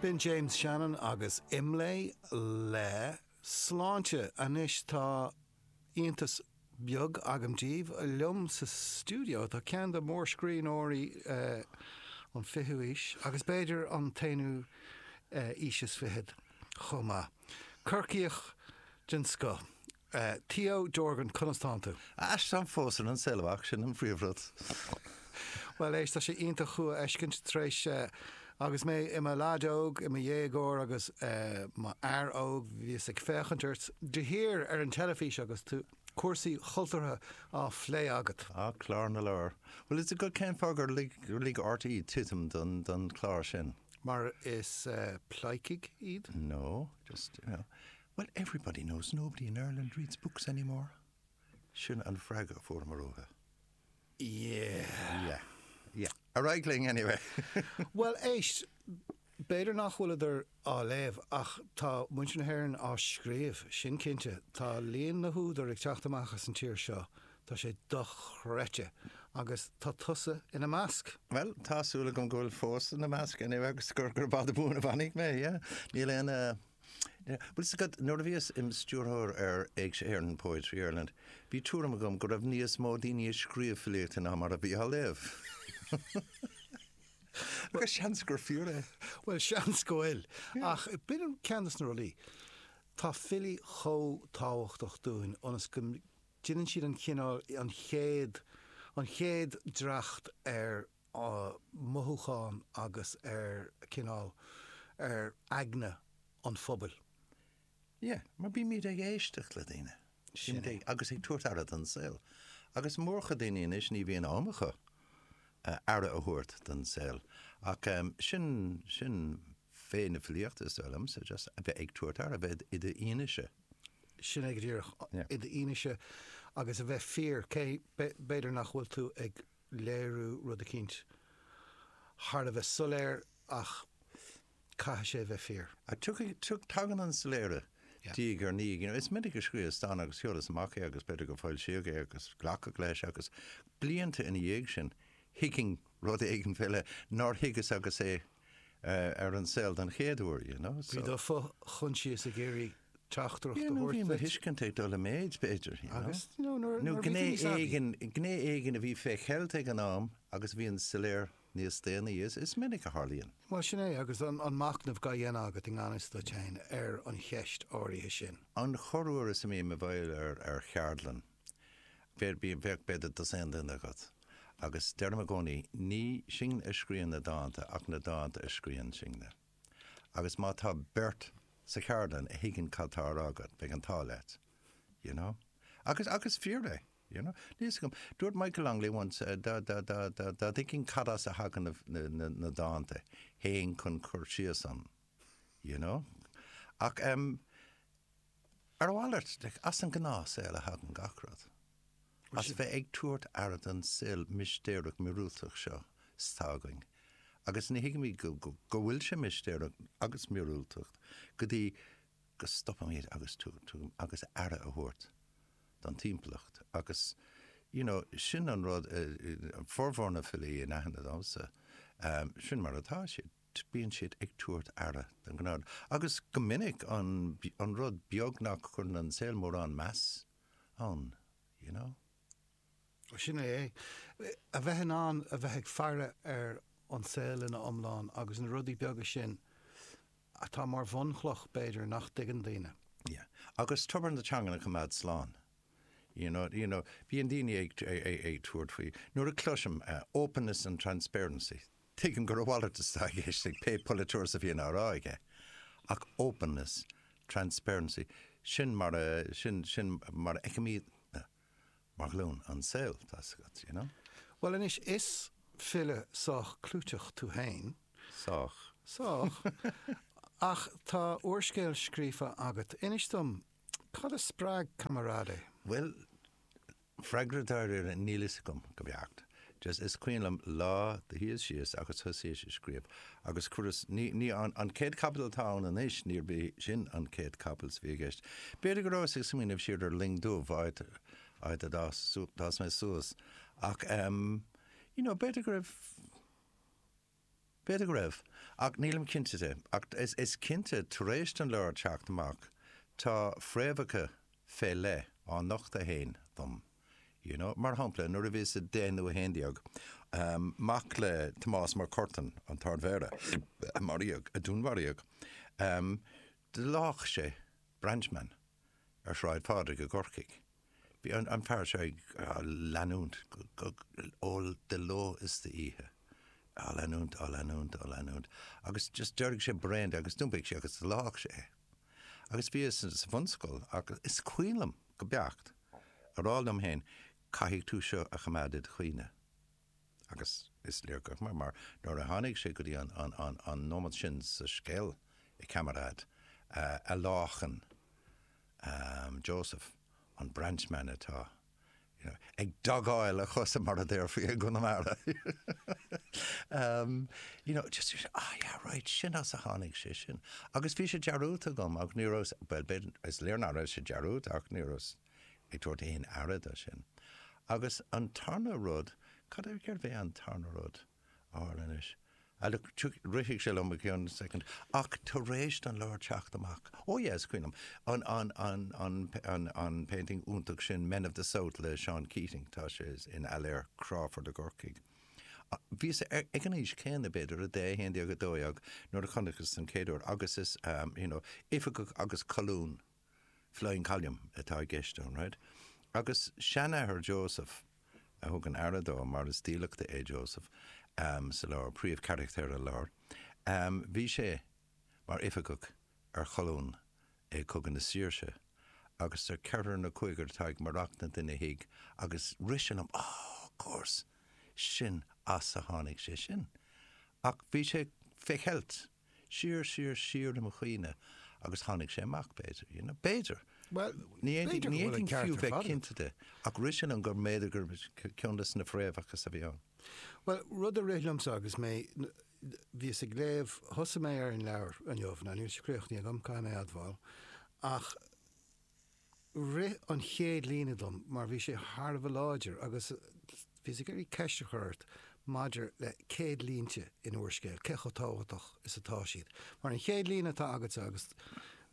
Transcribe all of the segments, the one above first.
B'in James Shannon agus Imlé le Sláinte. Anois tá iontas beag agam daoibh. Liom sa stiúideo tá ceann de mhórscríbhneoirí an fichiú aois agus b'fhéidir an t-aonú aois is fichead chomh maith. Corcaíoch den scoth. Theo Dorgan, conas tánn tú? Éist, táim fós ar an saol amach, sin an phríomhrud. Bhuel, éist, tá sé iontach thú a fheiscint tar éis, agus mé i mo leaid óg, i mo dhéagóir agus mo fhear óg, bhíos ag féachaint ort de shíor ar an teilifís agus tú, cúrsaí cultúrtha á phlé agat. Ah, Clár na Leabhar. Bhfuil fhios agat cén fáth gur lig, lig RTÉ titim don, don chlár sin? Mar is pleidhcigh iad? No, just, you know, Well, everybody knows nobody in Ireland reads books anymore. Sin an freagra a fuaireamar uathu. Yeah. Yeah. Yeah. Ar aghaidh linn anyway. Bhuel, éist, b'fhéidir nach bhfuileadar á léamh ach tá muintir na hÉireann á scríobh, sin cinnte. Tá líon na húdar ag teacht amach as an tír seo, tá sé dochreidte. Agus tá tusa ina measc. Bhuel, tá súil agam go bhfuil fós ina measc anyway agus gur gurb fhada buan a bhfanfaidh mé, yeah. Níl aon eh, Bhfuil fhios agat, nuair a bhíos im stiúrthóir ar Éigse Éireann, Poetry Ireland, bhí tuairim agam go raibh níos mó daoine ag scríobh filíochta ná mar a bhí á léamh. Agus seans gur fíor é. Bhuel, seans go bhfuil. Ach b'in ceann de na rudaí. Tá filí chomh tábhachtach dúinn ionas go ndéanann siad an cineál, an chéad, an chéad dreacht ar mothúchán agus ar cineál, ar aigne an phobail. Yeah, mar bímid ag éisteacht le daoine. Sin é. Agus ag tabhairt aire don saol. Agus mórchuid daoine anois ní bhíonn am acu aire a thabhairt don saol. Ach sin, sin féith na filíochta is dóigh liomsa, just a bheith ag tabhairt aire, a bheith i d'fhianaise. Sin é go díreach, i d'fhianaise agus a bheith fíor, cé b'fhéidir nach bhfuil tú ag léiriú rud eicínt thar a bheith soiléir ach caithfidh sé a bheith fíor. Tiocfaidh, tagann an soiléire diaidh ar ndiaidh. You know, is minic a scríos dán agus sheolas amach é agus b'fhéidir gur foilsíodh é agus glacadh leis agus blianta ina dhiaidh sin thuigfinn rud éigin fé leith nár thuigeas agus é ar an saol den chéad uair, you know, so. Bhí do fho-choinsias ag iarraidh teachtaireacht a Yeah, nó thabhairt bhí mo duit. thuiscint ag dul i méid, b'fhéidir, you know. Agus, you know, nuair, Nó nuair a bhí gné tú níos aibí. éigin, gné éigin a bhí fé cheilt ag an am agus a bhíonn soiléir níos déanaí. Is, is minic a tharlaíonn. Bhuel, sin é, agus an, an machnamh dhá dhéanamh agat i ngan fhios duit féin ar an cheist áirithe sin. An chorruair is a mbím i bhfeighil ar, ar cheardlann, bheadh, bheadh b'fhéidir dosaen duine agat, agus deirim i gcónaí, ní sinne a scríonn na dánta ach na dánta a scríonn sinne. Agus má tá beirt sa cheardlann a thuigeann cad tá á rá agat, beidh an t-ádh leat. You know? Agus, agus fíor é. You know? Níl fhios agam. Dúirt Michael Longley once, dá, dá, dá, dá, dá dtuigfinn cad as a thagann na, na, na, na dánta, théinn chun cur síos ann. You know? Ach, em, ar a mhalairt, like, as an ngnáthshaol a thagann gach rud. As bheith ag tabhairt aire don saol mistéireach míorúilteach seo atá againn. Agus ní thuigimid go, go, go bhfuil sé mistéireach agus míorúilteach go dtí go stopaimid agus tu, tu, agus aire a thabhairt don timpeallacht. Agus, you know, sin an rud, formhór na filí in aithne domsa, sin mar atá siad. bíonn siad ag tabhairt aire don ghnáth. Agus go minic an, an rud beag nach gcuireann an saol mórán meas ann, you know. Sin é é. A bheith in ann a bheith ag faire ar an saol ina iomlán agus na rudaí beaga sin atá mar bhunchloch, b'fhéidir, nach dtuigeann daoine. Yeah. Agus tobar na teangan a choimeád slán. You know, you know, bíonn daoine ag, ag, ag tabhairt faoi, nuair a cloisim openness and transparency, Tuigim gur a mhalairt atá i gceist ag pé polaiteoir is a bhíonn á rá aige, ach openness, transparency, sin mar a, sin, sin mar a fheicimidne mar ghlúin an saol, tá's agat, you know. Bhuel anois, is file sách clúiteach tú fhéin. Sách. Sách. Ach tá úrscéal scríofa agat. Inis dom, cad a spreag Camarade? Bhuel, Freagra dáiríre, níl fhios agam, go beacht. Just, is cuimhin liom lá do shuíos síos agus thosaíos ag scríobh agus chuireas, ní, ní, an, an chéad chaibidil atá ann anois, níorbh é sin an chéad chaibidil is a bhí i gceist. B'fhéidir go rabhas ag smaoineamh siar ar Luing Dubh, áit, áit a d'fhás, d'fhás mé suas. Ach em, you know, b'fhéidir go raibh, B'fhéidir go raibh, ach nílim cinnte de. Ach is cinnte, tar éis don leabhar teacht amach, tá fréamhacha fé leith á nochtadh féin dom. You know? Mar shampla, nuair a bhíos 10 nó 11, mac le Tomás Mac Curtain, an tArd-Mhéara, a maraíodh, a dúnmharaíodh, do lách sé branchman ar Shráid Phádraig i gCorcaigh. Bhí an fear seo ag leanúint ó de ló is d'oíche, á leanúint, á leanúint, á leanúint, agus just d'éirigh sé bréan de agus d'iompaigh sé agus lách sé é. Agus bhíos sa bhunscoil ach is cuimhin liom go beacht a rá liom féin, caithfidh tú seo a choimeád id chuimhne. Agus is léir gur mar, mar nuair a tháinig sé go dtí an, an, an, an nóiméad sin sa scéal i Camarade, a láchann Joseph, an branchman atá, you know, ag dagáil a chosa mar a déarfaí i gConamara. You know, just, ah yeah, right, sin as a tháinig sé sin. Agus bhí sé dearúdta agam ach ní raibh, bhuel, b'fhéidir, is léir nach raibh sé dearúdta ach ní rabhas ag tabhairt aon aire do sin. Agus an tarna rud, cad é, cérbh é an tarna rud a tharla anois? Ah look, rithfidh sé liom i gceann soicind. Ach tar éis don leabhar teacht amach, oh yeah, is cuimhin liom, an, an, an, an, an, an painting iontach sin, Men of the South le Seán Keating, tá sé in Ailéar Crawford i gCorcaigh. Bhíos ag an aois céanna, b'fhéidir, 10, 11, 12, nuair a chonaiceas den chéad uair agus is, you know, oifigeach agus colún Flying Column atá i gceist ann, right? Agus seanathair Joseph a thugann aire dó, mar is dílleachta é Joseph sa leabhar, príomhcharachtar an leabhair, bhí sé mar oifigeach ar cholún i Cogadh na Saoirse agus tá ceathrar nó cúigear atá ag maireachtaint ina thigh agus rith sé liom, oh, of course, sin as a tháinig sé sin. Ach bhí sé fé cheilt. Siar, siar, siar i mo chuimhne agus tháinig sé amach, b'fhéidir, you know, b'fhéidir. Bhuel, Ní b'fhéidir go bhfuil an fhéadfainn ceart fiú ar bheith fad agat. cinnte de, ach rith sé liom gur mb'fhéidir gur ceann de na fréamhacha a bhí ann. Bhuel, rud a rith liomsa agus mé, bhíos ag léamh, thosaigh mé ar an leabhar inniu, now níl sé críochnaithe agam, caithfidh mé a admháil, ach rith an chéad líne dom mar bhí sé thar a bheith láidir agus bhíos ag iarraidh ceist a chur ort maidir le céad línte in úrscéal, cé chomh tábhachtach is atá siad. Mar an chéad líne atá agatsa agus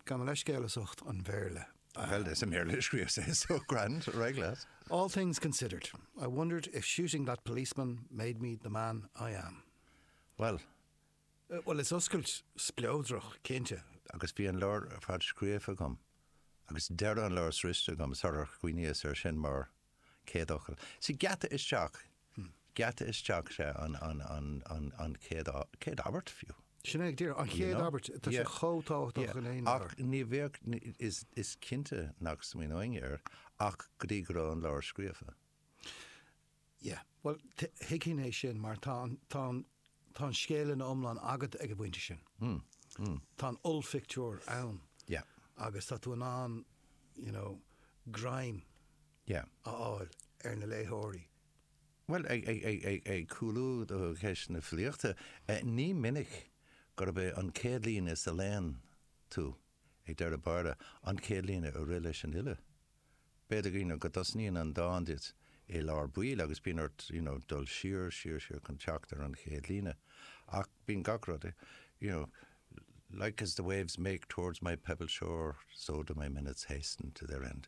gabh mo leithscéal as ucht an Bhéarla. Bhuel, is i mBéarla a scríobhas é so grand, ar aghaidh leat. All things considered, I wondered if shooting that policeman made me the man I am. Bhuel. Bhuel, is oscailt spleodrach, cinnte. Agus bhí an leabhar ar fad scríofa agam, agus deireadh an leabhair sroichte agam sular chuimhníos air sin mar chéad fhocal. Sea, geata isteach, geata isteach, sea, an, an, an, an, an chéad, chéad abairt fiú. Sin é, díreach, an chéad abairt, tá sé chomh tábhachtach in aon leabhar. Ach ní bheadh, is, is cinnte nach smaoineoinn air ach go dtí go raibh an leabhar scríofa. Yeah. Bhuel, thuigfinn é sin mar tá an, tá an, tá an scéal ina iomlán agat ag an bpointe sin. Tá an ollphictiúr ann. Yeah. Agus tá tú in ann, you know, greim Yeah. a fháil ar na léitheoirí. Bhuel, ag, ag, ag, ag, ag cúlú do cheist na filíochta, ní minic gurb é an chéad líne is a léann tú ag deireadh báire an chéad líne a rith leis an fhile. B'fhéidir you know go dtosnaíonn an dán duit i lár baill agus bíonn ort you know dul siar, siar, siar chun teacht ar an chéad líne. Ach bíonn gach rud you know like as the waves make towards my pebbled shore, so do my minutes hasten to their end.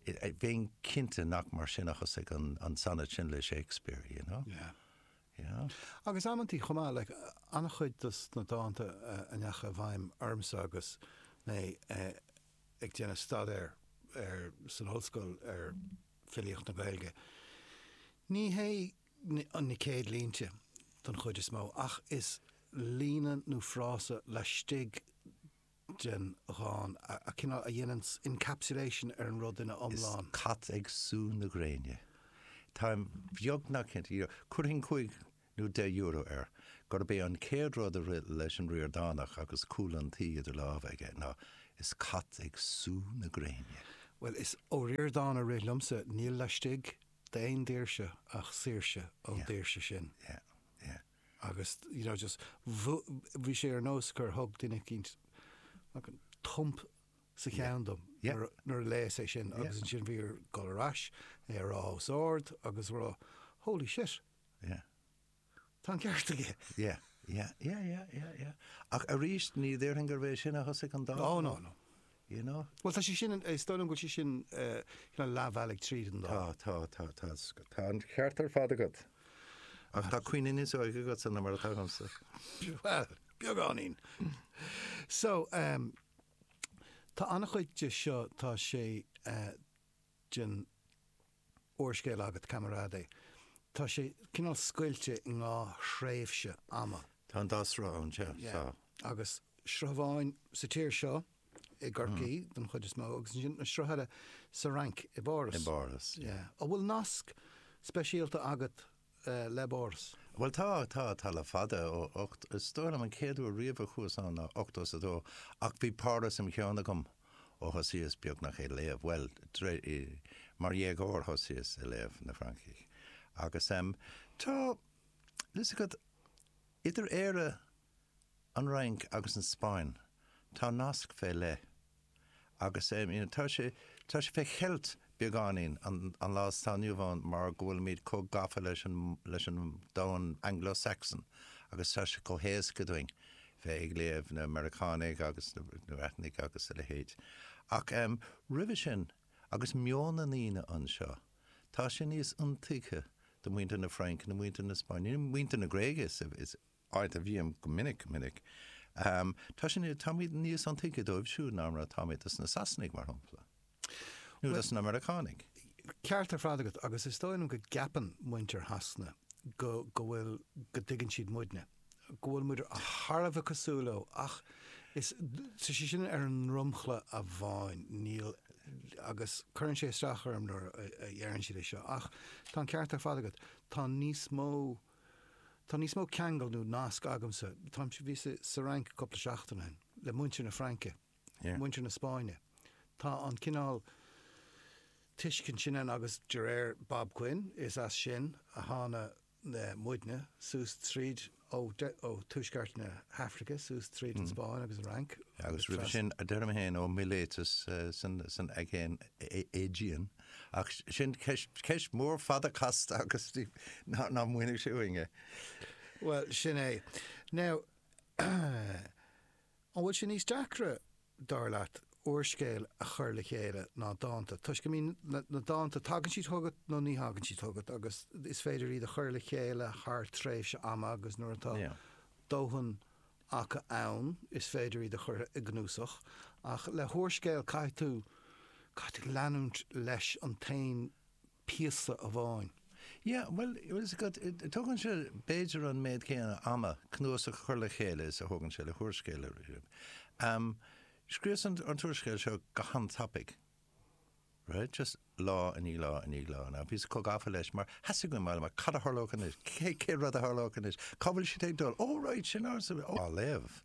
Bheinn cinnte nach mar sin a thosaigh an an sonnet sin le Shakespeare, you know? Yeah. Yeah. Agus amantaí chomh maith, like, an-chuid dos na dánta a ndeachaigh i bhfeidhm ormsa agus mé ag déanamh staidéir ar san ollscoil ar filíocht na Gaeilge. Ní hé na céad línte don chuid is mó ach is líne nó frása laistigh den dhán a cineál a dhéanann encapsulation ar an rud ina Is iomlán. cat ag sú na gréine. Táim beagnach cinnte, chuirfinn 5 nó €10 air, gurb é an chéad rud a rith leis an Ríordánach agus cúl an tí idir lámha aige ná 'Is cat ag sú na gréine'. Bhuel, is ó Ríordán a rith liomsa, níl laistigh d'aon daoirse ach saoirse ón daoirse sin. Yeah, yeah. Agus, you know, just, bhí sé ar nós gur thug duine eicínt thump sa cheann dom nuair a léas é sin agus ansin bhí orm dul ar ais, é a rá os ard agus a rá, holy shit! Yeah. Tá an ceart aige. Yeah. Yeah, yeah, yeah, yeah, yeah. Ach arís, ní déarfainn gurbh é sin a thosaigh an dán. Oh, no, no. You know? Bhuel, tá sé sin, is dóigh liom go bhfuil sé sin cineál leathbhealaigh tríd an dán. Tá, tá, tá, tá, tá an ceart ar fad agat. Ach tá cuimhne níos óige agatsa ná mar atá agamsa. Bhuel, beagáinín. So, um, tá an-chuid de seo, tá sé uh, den úrscéal agat, Camarade, tá sé cineál scoilte i ndhá thréimhse ama. Tá an dá sruth ann, sea, tá. Agus sruth amháin sa tír seo, i gCorcaigh don chuid is mó, agus ansin an sruth eile sa Fhrainc, i bPáras. I bPáras, yeah. An bhfuil nasc speisialta agat le Páras? Bhuel tá, tá, tá le fada, ó 8, is dóigh liom an chéad uair riamh a chuas ann ná 82, ach bhí Páras im cheann agam ó thosaíos beagnach ag léamh, bhuel, mar dhéagóir thosaíos ag léamh na Fraincigh. Agus em, tá, fhios agat, idir Éire, an Fhrainc agus an Spáinn, tá nasc fé leith. Agus you know tá sé, tá sé fé cheilt beagáinín an an lá atá inniu ann mar go bhfuilimid chomh gafa leis an leis an domhan Anglo-Saxon agus tá sé chomh héasca dúinn bheith ag léamh na Meiriceánaigh agus na na Breatanaigh agus a leithéid. Ach em roimhe sin, agus meon na ndaoine anseo, tá sé níos intuigthe do mhuintir na Fraince nó muintir na Spáinne, nó muintir na Gréige is is áit a bhím go minic, minic. Tá sin, táimid níos intuigthe dóibh siúd ná mar atáimid dos na Sasanaigh, mar shampla, nó dos na Meiriceánaigh. Ceart ar fad agat, agus is dóigh liom go gceapann muintir Shasana go, go bhfuil, go dtuigeann siad muidne, go bhfuil muid thar a bheith cosúil leo, ach is, tá sé sin ar an ndromchla amháin, níl, agus cuireann sé isteach orm nuair a dheireann siad é seo, ach tá an ceart ar fad agat, tá níos mó, Tá níos mó ceangal nó nasc agamsa, táimse, bhíos sa Fhrainc cúpla seachtain ó shin, le muintir na Fraince, muintir na Spáinne. Tá an cineál tuiscint sin ann agus de réir Bob Quinn, is as sin a thána muidne, suas tríd, ó tuaisceart na hAfraice suas tríd an Spáinn agus an Fhrainc. Agus roimhe sin, deirim féin, ó Miletus san Aigéan, Aegean. Ach sin ceist mhór fada casta agus ná múinfidh sé uainn é. Bhuel, sin é. Now, an bhfuil sé níos deacra, dar leat, úrscéal a chur le chéile ná dánta? Toisc go mbíonn na dánta, tagann siad chugat nó ní thagann siad chugat agus is féidir iad a chur le chéile thar tréimhse ama agus nuair atá dóthain acu ann, is féidir iad a chur i gcnuasach, ach le húrscéal caithfidh tú, caithfidh tú leanúint leis an t-aon píosa amháin. Yeah, bhuel, bhfuil fhios agat, tógann sé b'fhéidir an méid céanna ama cnuasach a chur le chéile is a thógann sé le húrscéal a scríobh. Scríobhas an t-úrscéal seo go han-tapaidh. Right? Just lá i ndiaidh lá i ndiaidh lá. Now, bhíos chomh gafa leis mar theastaigh uaim a fháil amach cad a tharlódh anois? Cé, cén rud a tharlódh anois? Cá bhfuil siad ag dul? Oh right, sin ár, oh. Á léamh.